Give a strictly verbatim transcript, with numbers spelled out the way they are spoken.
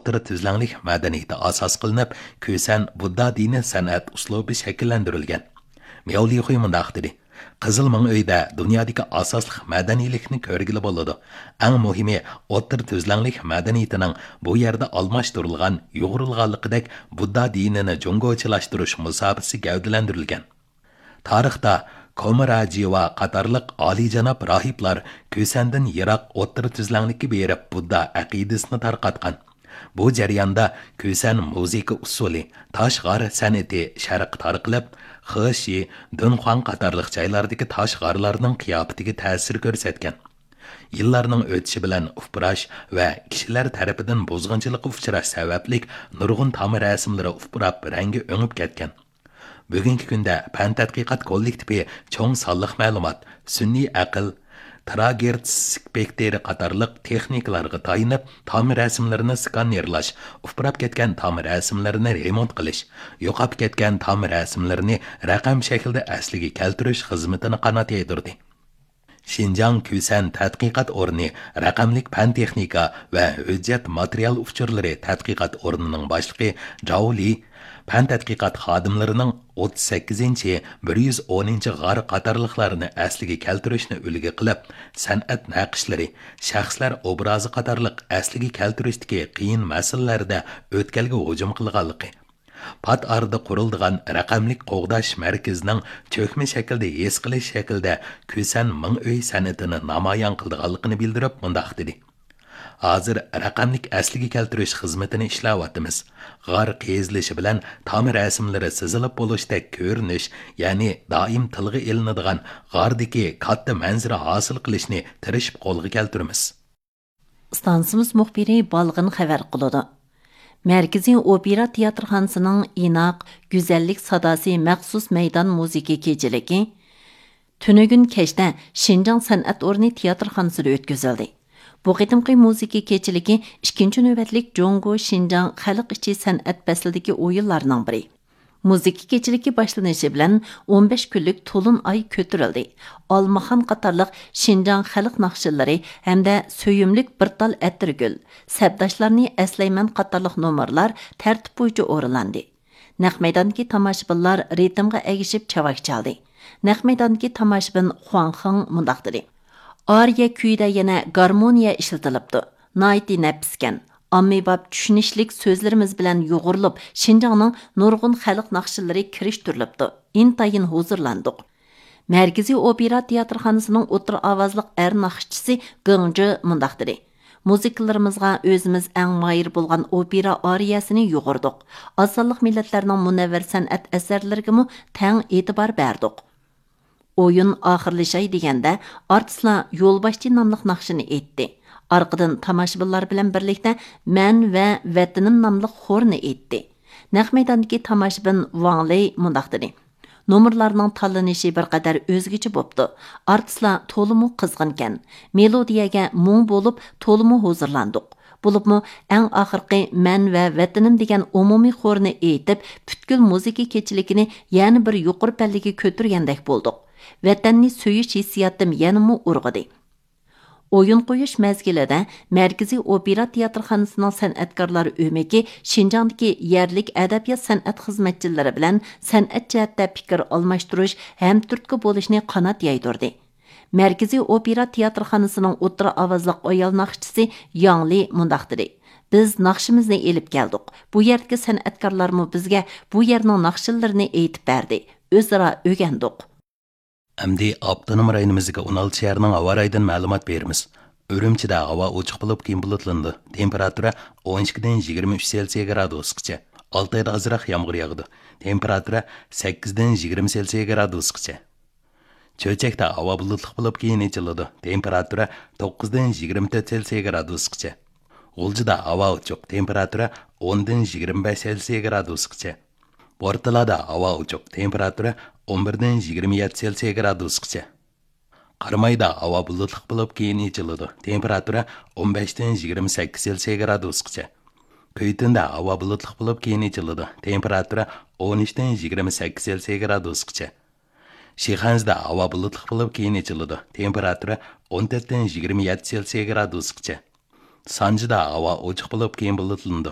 ئوتتۇرا تۈزلەڭلىك مەدەنىيىتى ئاساس قىلىنىپ، كۈسەن بۇددا دىنىي سەنئەت ئۇسلۇبى شەكىللەندۈرۈلگەن. مياۋ لىخۇي مۇنداق دېدى: «قىزىل مىڭ ئۆيدە دۇنيادىكى ئاساسلىق مەدەنىيلىكنى كۆرگىلى بولىدۇ. ئەڭ مۇھىمى، ئوتتۇرا تۈزلەڭلىك مەدەنىيىتىنىڭ بۇ يەردە ئالماشتۇرۇلغان، يۇغۇرۇلغانلىقىدەك بۇددا دىنىنى جۇڭگوچىلاشتۇرۇش مۇساپىسى گەۋدىلەندۈرۈلگەن. تارىختا كوماراجىۋا قاتارلىق ئالىيجاناب راھىبلار كۈسەندىن يىراق ئوتتۇرا تۈزلەڭلىككە بېرىپ، بۇددا ئەقىدىسىنى تارقاتقان. بۇ جەرياندا كۈسەن مۇزىكا ئۇسسۇلى، تاش غار سەنئىتى شەرققە تارقىلىپ، خېشى، دۇنخۇاڭ قاتارلىق جايلاردىكى تاش غارلارنىڭ قىياپىتىگە تەسىر كۆرسەتكەن. يىللارنىڭ ئۆتۈشى بىلەن ئۇپراش ۋە كىشىلەر تەرىپىدىن بۇزغۇنچىلىققا ئۇچراش سەۋەبلىك نۇرغۇن تام رەسىملىرى ئۇپراپ، رەڭگى ئۆڭۈپ كەتكەن. بۈگۈنكى كۈندە پەن تەتقىقات كوللېكتىپى چوڭ سانلىق مەلۇمات، سۈنئىي ئەقىل، تېراگېرتس سپېكتىرى قاتارلىق تېخنىكىلارغا تايىنىپ، تام رەسىملىرىنى سكانېرلاش، ئۇپراپ كەتكەن تام رەسىملىرىنى رېمونت قىلىش، يوقاپ كەتكەن تام رەسىملىرىنى رەقەم شەكلىدە ئەسلىگە كەلتۈرۈش خىزمىتىنى قانات يايدۇردى. شىنجاڭ كۈسەن تەتقىقات ئورنى رەقەملىك پەن تېخنىكا ۋە ھۆججەت ماتېرىيال ئۇچۇرلىرى تەتقىقات ئورنىنىڭ باشلىقى جاۋ لى پەن تەتقىقات خادىملىرىنىڭ ئوتتۇز سەككىزىنچى، بىر يۈز ئونىنچى غار قاتارلىقلارنى ئەسلىگە كەلتۈرۈشنى ئۈلگە قىلىپ، سەنئەت نەقىشلىرى، شەخسلەر ئوبرازى قاتارلىق ئەسلىگە كەلتۈرۈشتىكى قىيىن مەسىلىلەردە ئۆتكەلگە ھۇجۇم قىلغانلىقى، پات ئارىدا قۇرۇلىدىغان رەقەملىك قوغداش مەركىزىنىڭ چۆكمە شەكىلدە ھېس قىلىش شەكلىدە كۈسەن مىڭ ئۆي سەنئىتىنى نامايان قىلىدىغانلىقىنى بىلدۈرۈپ، مۇنداق دېدى: «ھازىر رەقەملىك ئەسلىگە كەلتۈرۈش خىزمىتىنى ئىشلەۋاتىمىز. غار قېزىلىشى بىلەن تام رەسىملىرى سىزىلىپ بولۇشتەك كۆرۈنۈش، يەنى دائىم تىلغا ئېلىنىدىغان غاردىكى كاتتا مەنزىرە ھاسىل قىلىشنى تىرىشىپ قولغا كەلتۈرىمىز.» ئىستانسىمىز مۇخبىرى بالغىن خەۋەر قىلىدۇ. مەركىزىي ئوپېرا تىياتىرخانىسىنىڭ ئىناق، گۈزەللىك ساداسى مەخسۇس مەيدان مۇزىكا كېچىلىكى تۈنۈگۈن كەچتە شىنجاڭ سەنئەت ئورنى تىياتىرخانىسىدا ئۆتكۈزۈلدى. بۇ قېتىمقى مۇزىكا كېچىلىكى ئىككىنچى نۆۋەتلىك جۇڭگو شىنجاڭ خەلق ئىچى سەنئەت پەسلىدىكى ئويۇنلارنىڭ بىرى. مۇزىكا كېچىلىكى باشلىنىشى بىلەن ئون بەش كۈنلۈك تولۇن ئاي كۆتۈرۈلدى. ئالمىخان قاتارلىق شىنجاڭ خەلق ناخشىلىرى ھەمدە سۆيۈملۈك بىر تال ئەتىرگۈل، سەپداشلارنى ئەسلەيمەن قاتارلىق نومۇرلار تەرتىپ بويىچە ئورۇنلاندى. نەق مەيداندىكى تاماشىبىنلار رىتىمغا ئەگىشىپ چاۋاك چالدى. نەق مەيداندىكى تاماشىبىن خۇاڭ خېڭ مۇنداق دېدى: «ئارىيە كۈيىدە يەنە گارمونىيە ئىشلىتىلىپتۇ. ناھايىتى نەپىسكەن. ئاممىباب چۈشىنىشلىك سۆزلىرىمىز بىلەن يۇغۇرۇلۇپ، شىنجاڭنىڭ نۇرغۇن خەلق ناخشىلىرى كىرىشتۈرۈلۈپتۇ. ئىنتايىن ھۇزۇرلاندۇق.» مەركىزىي ئوپېرا تىياتىرخانىسىنىڭ ئوتتۇرا ئاۋازلىق ئەر ناخشىچىسى گېڭ جې مۇنداق دېدى: «مۇزىكىلىرىمىزغا ئۆزىمىز ئەڭ ماھىر بولغان ئوپېرا ئارىيەسىنى يۇغۇردۇق. ئاز سانلىق مىللەتلەرنىڭ مۇنەۋۋەر سەنئەت ئەسەرلىرىگىمۇ تەڭ ئېتىبار بەردۇق.» ئويۇن ئاخىرلىشاي دېگەندە، ئارتىسلار يولباشچى ناملىق ناخشىنى ئېيتتى. ئارقىدىن تاماشىبىنلار بىلەن بىرلىكتە مەن ۋە ۋەتىنىم ناملىق خورنى ئېيتتى. نەق مەيداندىكى تاماشىبىن ۋاڭ لېي مۇنداق دېدى: «نومۇرلارنىڭ تاللىنىشى بىر قەدەر ئۆزگىچە بوپتۇ. ئارتىسلار تولىمۇ قىزغىنكەن. مېلودىيەگە مۇڭ بولۇپ، تولىمۇ ھۇزۇرلاندۇق. بولۇپمۇ ئەڭ ئاخىرقى مەن ۋە ۋەتىنىم دېگەن ئومۇمىي خورنى ئېيتىپ، پۈتكۈل مۇزىكا كېچىلىكىنى يەنە بىر يۇقىرى پەللىگە كۆتۈرگەندەك بولدۇق. ۋەتەننى سۆيۈش ھېسسىياتىم يەنىمۇ ئۇرغۇدى.» ئويۇن قويۇش مەزگىلىدە مەركىزىي ئوپېرا تىياتىرخانىسىنىڭ سەنئەتكارلار ئۆمىكى شىنجاڭدىكى يەرلىك ئەدەبىيات سەنئەت خىزمەتچىلىرى بىلەن سەنئەت جەھەتتە پىكىر ئالماشتۇرۇش، ھەمتۈرتكە بولۇشنى قانات يايدۇردى. مەركىزىي ئوپېرا تىياتىرخانىسىنىڭ ئوتتۇرا ئاۋازلىق ئايال ناخشىچىسى ياڭ لى مۇنداق دېدى: «بىز ناخشىمىزنى ئېلىپ كەلدۇق. بۇ يەردىكى سەنئەتكارلارمۇ بىزگە بۇ يەرنىڭ ناخشىلىرىنى ئېيتىپ بەردى. ئۆزئارا ئۆگەندۇق.» ئەمدى ئاپتونوم رايونىمىزدىكى ئون ئالتە شەھەرنىڭ ھاۋا رايىدىن مەلۇمات بېرىمىز. ئۈرۈمچىدە ھاۋا ئوچۇق بولۇپ، كېيىن بۇلۇتلىنىدۇ. تېمپېراتۇرا ئون ئىككىدىن يىگىرمە ئۈچ سېلسىيە گرادۇسقىچە. ئالتايدا ئازراق يامغۇر ياغىدۇ. تېمپېراتۇرا سەككىزدىن يىگىرمە سېلسىيە گرادۇسقىچە. چۆچەكتە ھاۋا بۇلۇتلۇق بولۇپ، كېيىن ئېچىلىدۇ. تېمپېراتۇرا توققۇزدىن يىگىرمە تۆت سېلسىيە گرادۇسقىچە. غۇلجىدا ھاۋا ئوچۇق، تېمپېراتۇرا ئوندىن يىگىرمە بەش سېلسىيە گرادۇسقىچە. بورتالادا ھاۋا ئوچۇق، تېمپېراتۇرا ئون بىردىن يىگىرمە يەتتە سېلسىيە گرادۇسقىچە. قارامايدا ھاۋا بۇلۇتلۇق بولۇپ، كېيىن ئېچىلىدۇ، تېمپېراتۇرا ئون بەشتىن يىگىرمە سەككىز سېلسىيە گرادۇسقىچە. كۈيتۈندە ھاۋا بۇلۇتلۇق بولۇپ، كېيىن ئېچىلىدۇ، تېمپېراتۇرا ئون ئۈچتىن يىگىرمە سەككىز سېلسىيە گرادۇسقىچە. شىخەنزىدە ھاۋا بۇلۇتلۇق بولۇپ، كېيىن ئېچىلىدۇ، تېمپېراتۇرا ئون تۆتتىن يىگىرمە يەتتە سېلسىيە گرادۇسقىچە. سانجىدا ھاۋا ئوچۇق بولۇپ، كېيىن بۇلۇتلىنىدۇ،